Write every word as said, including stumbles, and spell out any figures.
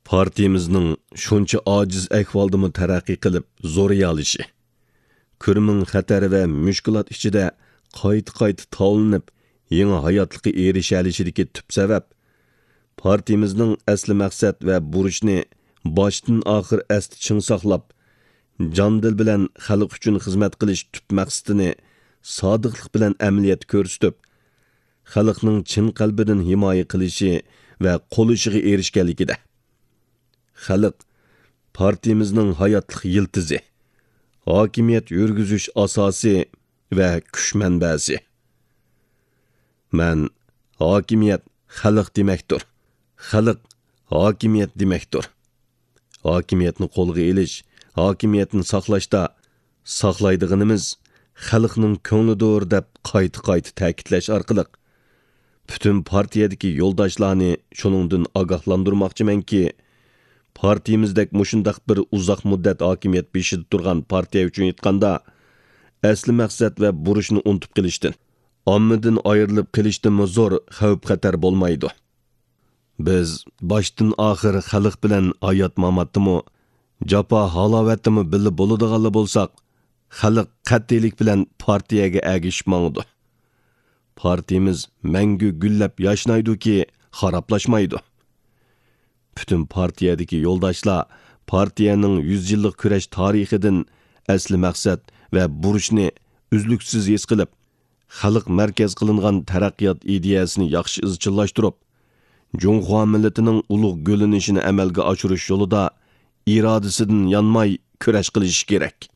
پارتىيىمىزنىڭ شۇنچە ئاجىز ئەھۋالدىمۇ تەرەققىي قىلىپ زورىيالىشى، كۆرمىڭ خەتەر ۋە مۈشكۈلات ئىچىدە قايتا-قايتا تاۋلىنىپ، يېڭى ھاياتلىققا ئېرىشەلىشىدىكى تۈپ سەۋەب، پارتىيىمىزنىڭ ئەسلى مەقسەت ۋە بۇرچنى باشتىن ئاخىر ئەستە چىڭ ساقلاپ، جان-دىل بىلەن خەلق ئۈچۈن خىزمەت قىلىش تۈپ مەقسىتىنى سادىقلىق بىلەن ئەمەلىيەتتە كۆرسىتىپ، خەلقنىڭ چىن قەلبىدىن ھىمايە قىلىشى ۋە قوللىشىغا ئېرىشكەنلىكىدە. خەلق پارتىيىمىزنىڭ ھاياتلىق يىلتىزى، ھاكىمىيەت يۈرگۈزۈش ئاساسى ۋە كۈچ مەنبەسى. مەن ھاكىمىيەت خەلق دېمەكتۇر، خەلق ھاكىمىيەت دېمەكتۇر. ھاكىمىيەتنى قولغا ئېلىش، ھاكىمىيەتنى ساقلاشتا ساقلايدىغىنىمىز خەلقنىڭ كۆڭلىدۇر دەپ قايتا-قايتا تەكىتلەش ئارقىلىق، پۈتۈن پارتىيەدىكى يولداشلارنى شۇنىڭدىن ئاگاھلاندۇرماقچىمەنكى، پارتىيىمىزدەك مۇشۇنداق بىر ئۇزاق مۇددەت ھاكىمىيەت بېشىدا تۇرغان پارتىيە ئۈچۈن ئېيتقاندا، ئەسلى مەقسەت ۋە بۇرچنى ئۇنتۇپ قېلىشتىن، ئاممىدىن ئايرىلىپ قېلىشتىنمۇ زور خەۋپ-خەتەر بولمايدۇ. بىز باشتىن ئاخىر خەلق بىلەن ھايات-ماماتتىمۇ، جاپا-ھالاۋەتتىمۇ بىللە بولىدىغانلا بولساق، خەلق قەتئىيلىك بىلەن پارتىيەگە ئەگىشىپ ماڭىدۇ. پارتىيىمىز مەڭگۈ گۈللەپ ياشنايدۇكى، خارابلاشمايدۇ. پۈتۈن پارتىيەدىكى يولداشلار پارتىيەنىڭ يۈز يىللىق كۈرەش تارىخىدىن ئەسلى مەقسەت ۋە بۇرچنى ئۈزلۈكسىز ھېس قىلىپ، خەلق مەركەز قىلىنغان تەرەققىيات ئىدىيەسىنى ياخشى ئىزچىللاشتۇرۇپ، جۇڭخۇا مىللىتىنىڭ ئۇلۇغ گۈللىنىشىنى ئەمەلگە ئاشۇرۇش يولىدا ئىرادىسىدىن يانماي كۈرەش قىلىشى كېرەك.